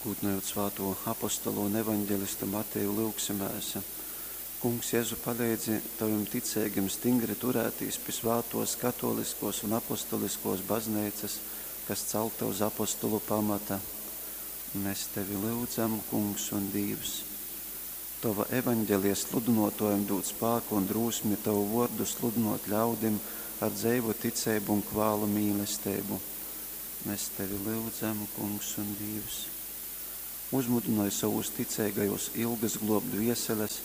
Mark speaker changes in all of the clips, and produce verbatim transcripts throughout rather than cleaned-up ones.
Speaker 1: Gūdynojūt svātū apostolu un evaņgelistu Mateju, lyugsimēs. Kungs Jezu, paleidzi tovim ticeigim stingri turētīs pi svātōs katōliskōs un apostoliskōs bazneicas, kas calta uz apostolu pamata. Mēs tevi lyudzam, Kungs un Dīvs. Tova evaņgelija sludynōtōjam dūd spāku un drūsmi tovu vōrdu sludynōt ļaudim ar dzeivu ticeibu un kvālu mīlesteibu. Mēs tevi lyudzam, Kungs un Dīvs. Uzmudynoj sovus ticeigajūs ilgas glōbt dvieseles,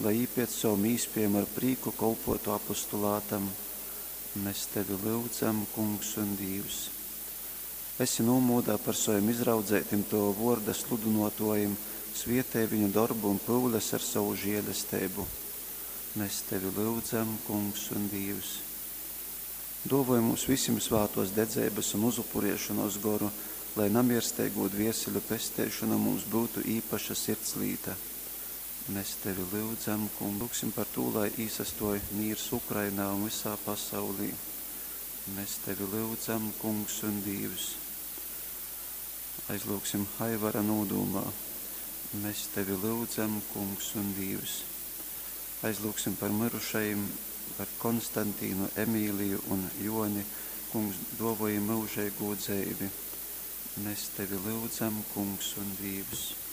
Speaker 1: lai jī pēc savom īspējom ar prīku kolpōtu apostulātam. Mēs tevi lyudzam, Kungs un Dīvs. Esi nūmūdā par sovim izraudzeitim tova vōrda sludynōtōjim, svietej viņu dorbu un pyules ar sovu žielesteibu. Mēs tevi lyudzam, Kungs un Dīvs. Dōvoj mums visim svātōs dedzeibas un uzupuriešonōs goru, lai namiersteigū dvieseļu pesteišona mums byutu īpaša sirdslīta. Mēs tevi lyudzam, Kungs. Lyugsim par tū, lai īsastōj mīrs Ukrainā un visā pasaulī. Mēs tevi lyudzam, Kungs un Dīvs. Aizlyugsim Aivara nūdūmā. Mēs tevi lyudzam, Kungs un Dīvs. Aizlyugsim par myrušajim, par Konstantīnu, Emīliju un Joni. Kungs, duovoj jim myužeigū dzeivi. Mēs tevi lyudzam, Kungs un Dīvs.